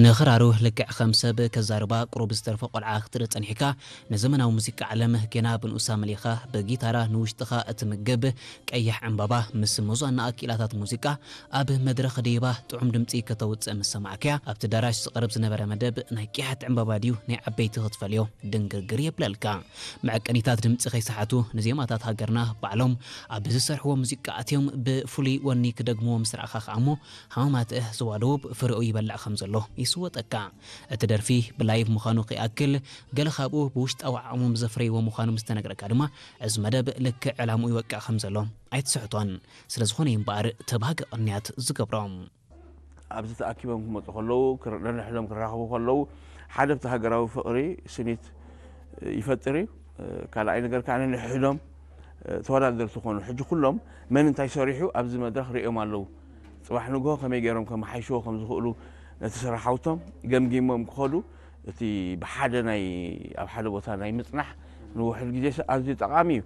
ንኽራሩ ልክዕ ከም ሰብ ከዛርባ ቁሩብ ዝተርፎ ቆልዓ ክትርኢ ጸኒሕካ፣ ንዘመናዊ ሙዚቃ ዓለም ጌና ብንኡሳ መሊኻ ብጊታራ ንውሽጥኻ እትምግብ ቀያሕ ዕምባባ ምስ መዛንኣ ክኢላታት ሙዚቃ ኣብ መድረኽ ደይባ ጥዑም ድምጺ ከተውጽእ ምስ ሰማዕካያ፣ ኣብቲ ዳራሽ ዝቐርብ ዝነበረ መደብ ናይ ቅያሕቲ ዕምባባ ድዩ ናይ ዓበይቲ ክትፈልዮ ድንግርግር የብለልካ። መዐቀኒታት ድምጺ ከይሰሓቱ ንዜማታት ሃገርና ባዕሎም ኣብ ዝሰርሕዎ ሙዚቃ ኣትዮም ብፍሉይ ወኒ ክደግምዎ ምስ ረኣኻ ከኣ እሞ ሃማማትእ ዞባ ደቡብ ፍሬኡ ይበልዕ ከም ዘሎ ይስወጠካ። እቲ ደርፊ ብላይቭ ምዃኑ ከይኣክል፣ ገለ ካብኡ ብውሽጣዊ ዓቕሞም ዘፍረይዎ ምዃኑ ምስ ተነግረካ ድማ፣ እዚ መደብ ልክዕ ዕላምኡ ይወቅዕ ከም ዘሎ ኣይትስሕቶን። ስለ ዝኾነ እዩ እምበኣር ተባሃጊ ቅንያት ዝገብሮም። ኣብዚ ተኣኪቦም ክመጹ ከለዉ፣ ክር-፣ ነንሕዶም ክራኸቡ ከለዉ፣ ሓደ ኣብቲ ሃገራዊ ፍቕሪ ስኒት ይፈጥር እዩ። ካልኣይ ነገር ከኣ ነንሕዶም ተወዳደርቲ ኮኑ። ሕጂ ኩሎም መን እንታይ ሰሪሑ ኣብዚ መድረኽ ርእዮም ኣለዉ። ጽባሕ ንግሆ ከመይ ገይሮም ከመሓይሽዎ ከም ዝኽእሉ ነቲ ስራሕ ሃውቶም ገምጊሞም ክኸዱ፣ እቲ ብሓደ ናይ፣ ኣብ ሓደ ቦታ ናይ ምጽናሕ ንውሑድ ግዜ ኣዝዩ ጠቓሚ እዩ።